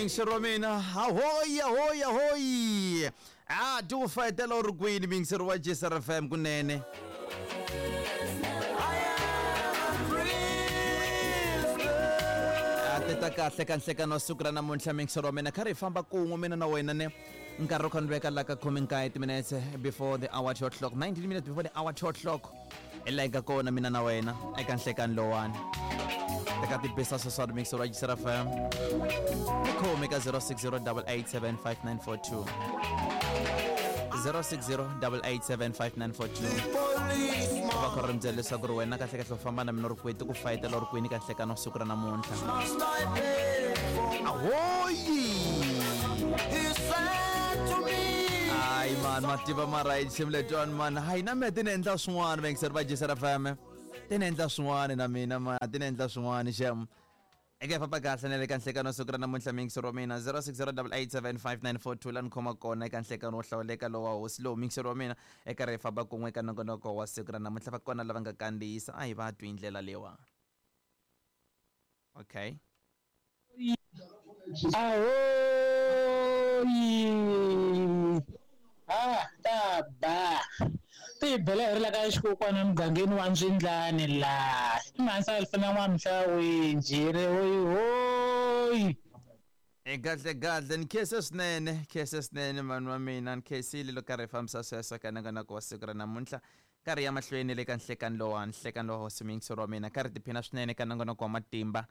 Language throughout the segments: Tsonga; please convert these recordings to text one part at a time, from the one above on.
Mingiseri wa mina, ahoyi ahoyi ahoyi, a ti ku fayetela u ri kwini mingiseri wa Gsr FM kunene. A ti ta kahle ka nhlekano wa siku ra namuntlha mingiseri wa mina, kha ri hi famba kun'we mina na wena ne nkarhi wu kha ni veka la ka khume nkaye timinetse before the hour 2 o'clock, 19 minutes before the hour 2 o'clock, hi laha hi nga kona mina na wena eka nhlekani lowani. Teka tibisa sweswani mixer wa Gsr FM, ni khomi ka 060 887 5942, 060 887 5942, va kha ri mi byela leswaku ri wena kahle kahle u famba na mina u ri kwihi, ti ku fayetela u ri kwini ka nhlekani wa siku ra namuntlha. Ahoyi! Hayi mani, mativa mara hi xim letiwani mani, hayi na mina ti ni endla swin'wana, vayingiseri va Gsr FM, ti ni endla swin'wana na mina ma ti ni endla swin'wana xem. Eka hi famba kahle na le ka nhlekano siku ra namuntlha mingiseri wa mina, 060 887 5942, la ni khoma kona eka nhlekano wo hlawuleka lowa hosi lowu mingiseri wa mina, eka ri hi famba kun'we eka nongonoko wa siku ra namuntlha. Va kona lava nga kandziyisa, a hi va twi hi ndlela leyiwa. Okay. Ahoyi! Ha ta ba ti hi bela hi ri la ka xikokwana emugangeni wa Ndzwindlani laha i mhanisa alifana n'wamhlawi njhiri hoyi hoyi. E kahle kahle, ni khense swinene, khense swinene vanhu va mina, ni khensile loko karhi hi fambisa sweswo ka nongonoko wa siku ra namuntlha. Karhi ya mahlweni le ka nhlekani lowa, nhlekani lowa hosi muyingiseri wa mina, karhi tiphina swinene ka nongonoko wa matimba,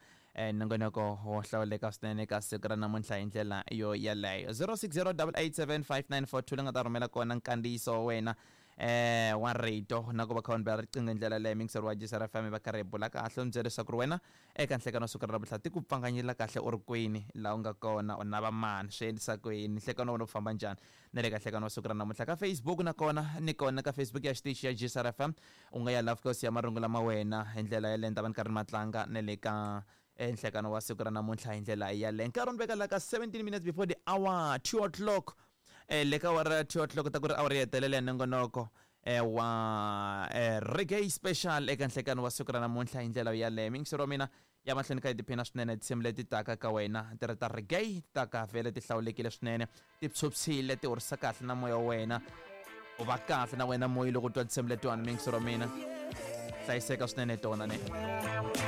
nongonoko wo hlawuleka swinene ka siku ra namuntlha hi ndlela yo yaleyo. 060 887 5942 le nga ta rhumela kona nkandziyiso wa wena wa rito na ku va kha u ni bela riqingho hi ndlela leyo muyingiseri wa Gsr FM, va karhi hi bula kahle, u ni byela leswaku ri wena eka nhlekano wa siku ra namuntlha ti ku pfanganyela kahle u ri kwini, laha u nga kona u nava mani, swi endlisa ku yini, nhlekano wa wena u famba njhani na le ka nhlekano wa siku ra namuntlha. Ka Facebook na kona ni kona ka Facebook ya xitichi ya Gsr FM, u nga ya laha fika u siya marungu lama wena hi ndlela yaleyo, ni ta va ni karhi ni ma tlanga na le ka nhlekano wa siku ra namuntlha hi ndlela yaleyo. Nkarhi u ni veka la ka 17 minutes before the hour 2 o'clock, le ka awara ya 2 o'clock ta ku ri awara yo hetelela ya nongonoko wa reggae special eka nhlekano wa siku ra namuntlha hi ndlela yaleyo. Mingiseri wa mina, ya mahlweni ka hi tiphina swinene tinsimu leti taka ka wena ti ri ta reggae, ti taka vhele ti hlawulekile swinene, ti phyuphyile, ti horisa kahle na moya wa wena, u va kahle na wena moya loko u twa tinsimu letiwani. Mingiseri wa mina, hlayiseka swinene tona ne.